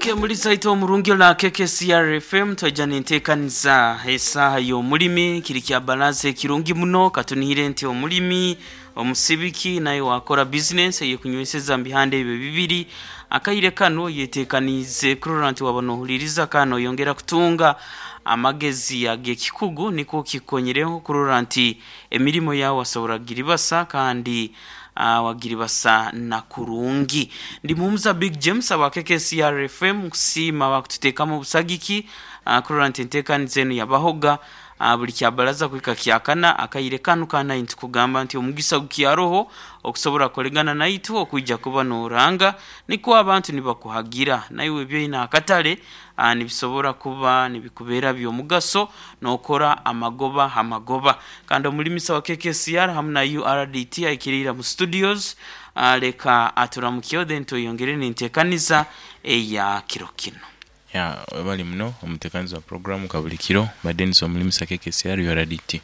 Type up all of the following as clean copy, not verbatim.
Muri saito omurungi la KKCR FM, twaija nenteekaniza esaaha y'omulimi. Kiri kya balance ekirungi muno. Katunihire nti omulimi omusibiki naye wakora bizinesi eyekunyweseza mu bihanda ebyo bibiri. Akaire kano yeteekaniize kurora nti waba nohuliriza kandi noyongera kutunga amagezi ag'ekikugu, nikwo kikukonyereho kurora nti emirimo yawe wasobora kugiribasa kandi wagiribasa na kurungi. Ndi Muhumuza Big James aba KKCR FM, nkusiima bakututeekamu obusagiki kurora nti enteekaniza enu yabahoga buli kyabaraza kuhika kyakana. Akaire kanu kanayi nitukugamba nti omugisa gukyaroho okusobora kukolegana naitwe okwija kuba noranga, nikwo abantu nibakuhagira naiwe ebyoine akatale nibisobora kuba nibikubeera by'omugaso, nokora amagoba ha magoba. Kandi omulimisa wa KKCR hamu na URDT aikiriira mu studios, leka aturamukyeho, then tweyongere n'enteekaniza eya kiro kinu. Ya, webale muno omutekanizi wa puroguramu kabuli kiro ba Denis omulimisa KKCR URDT.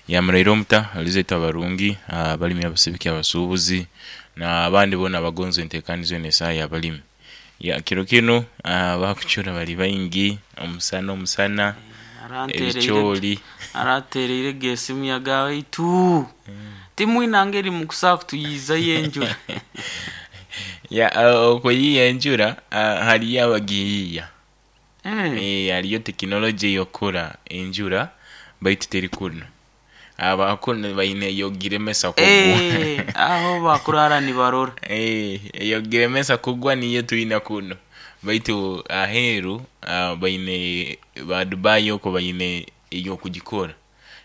Ya, muraire omuta alizaitwe abarungi, abalimi, abasibiki, abasuubuzi na abandi boona abagonza entekaniza enu esaaha yabalimi. Ya, kiro kinu abakucura bali baingi, omusana omusana, ebicooli. Aratereire ge esimu yagamba, "Baitu timwina ngeri mukusobola kutuyiizayo enjura?" Ya, okuyiiya enjura, hariyo abagiyiiya. Hariyo tekinologye eyokukora enjura baitu teri kunu. Abakunu baine eyokugiremesa kugwa. Aho bakurara nibarora. Eyokugiremesa kugwa niyo twine kunu, baitu aheeru baine ba Dubai okwo baine eyokugikora.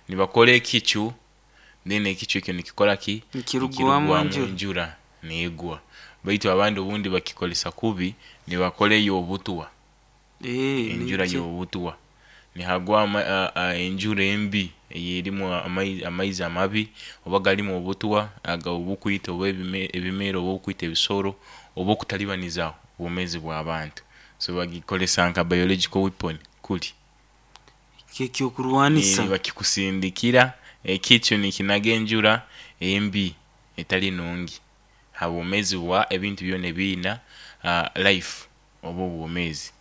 Nibakora ekicu, then ekicu ekyo nikikora ki? Nikirugwamu enjura. Enjura negwa. Baitu abandi obundi bakikolesa kubi, nibakora ey'obutwa. Enjura y'obutwa. Nihagwa enjura embi eyerimu amaizi amabi oba galimu obutwa obukwita oba ebimera oba obukwita ebisoro oba okutalibaniza obwomezi bw'abantu. So bagikolesa nka biological weapon kuli. Ekyokurwanisa. Bakikusindikira ekicu nikinaga enjura embi etali nungi ha bwomezi bwa ebintu byona ebiina life oba obwomezi.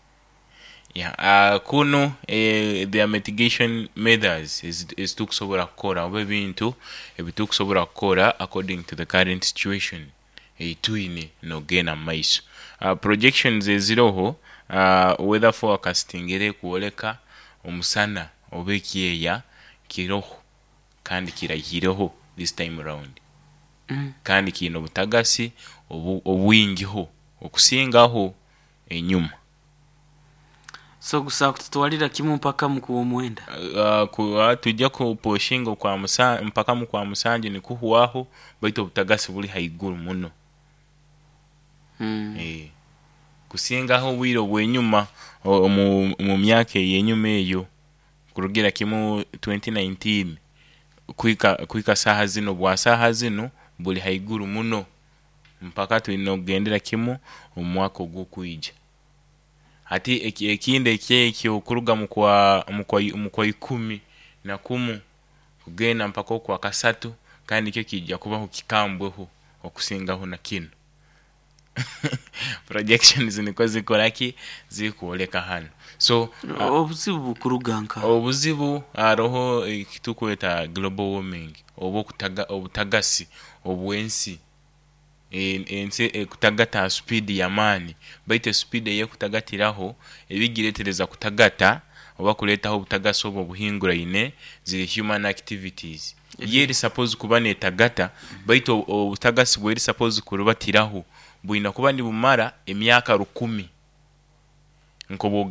Ya, kunu there are mitigation methods ezitukusobora kukora oba ebintu ebitukusobora kukora according to the current situation eyitwine nogenda mumaiso. Projections eziroho, weather forecasting erikwoleka omusana oba ekyeya kiroho kandi kiraihireho this time round, kandi kiine obutagasi obwingiho okusingaho enyuma. So gusobola kututwalira kimu mpaka mu kwomwenda. Twija kupushinga mpaka mu kwa musanju nikuhwaho, baitu obutagasi buli haiguru muno kusingaho obwire obwenyuma omu myaka eyenyuma eyo kurugira kimu 2019 kuhika saaha zinu, obwa saaha zinu buli haiguru muno mpaka twine kugendera kimu omu mwaka ogukwija. Hati ekindi ekyekyo kuruga mukwa ikumi na kumu kugenda mpaka okwakasatu kandi nikyo kiija kubaho kikambweho okusingaho na kinu. Projections nikwo zikukoraki? Zirikwoleka hanu. So obuzibu bukuruga nkaha? Obuzibu haroho ekitukweta global warming oba obutagasi obw'ensi. Ensi ekutagata ha supiidi y'amaani, baitu esupiidi eyekutagatiraho ebigiretereza kutagata oba kureetaho obutagasi obu obuhinguraine ziri human activities. Yo eri suppose kuba netagata, baitu obutagasi bweri suppose kurubatiraho bwine kuba nibumara emyaka 1000 nk'obwogamba.